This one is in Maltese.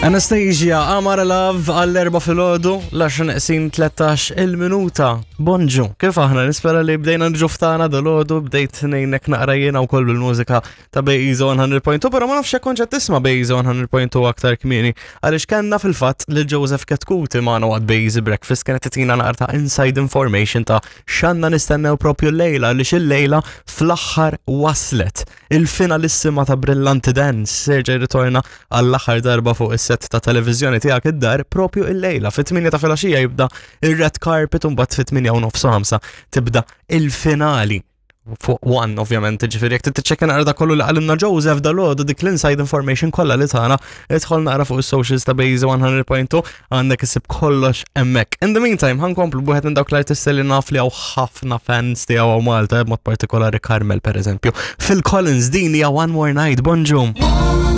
Anastasia, Amara Love għall-erba filgħodu, l-10 neqsin 13 il-minuta. Bonġu, kif aħna nispera li bdejna nġuftana dal-għodu, bdejt ngħinek naqra jiena wkoll bil-mużika ta' Bejzo 100.2, però ma nafx jekk kontx qed tisma' Bejzo 100.2 aktar kmieni, għaliex kellna fil-fatt lil Joseph Ketkuti magħna waqt Bejzi Breakfast kienet titina naqra ta' inside information ta' x'għandna nistennew propju llejla għaliex illejla fl-aħħar waslet. Il-finalissima ta' Brillanti Dance serġa' jirritorna għall-aħħar darba fuq is-set ta' televiżjoni tiegħek id-dar propju illejla. Fit-8 ta' filgħaxija jibda ir-red carpet u mbagħad fit-8 u nofs 5 tibda il-finali fuq One ovvjament, ġifieri jekk tiċċekkja naqra dak kollu li qalilna Joseph dalgħodu dik l-inside information kollha li tagħna, idħol naqra fuq is-socials ta' Bejza 100.2 għandek issib kollox hemmhekk. In the meantime, ħankomplu b'wieħed minn dawk l-artisti li naf li hawn ħafna fans tiegħu hawn Malta, b'mod partikolari Carmel pereżempju. Phil Collins din hija One More Night, bonġu.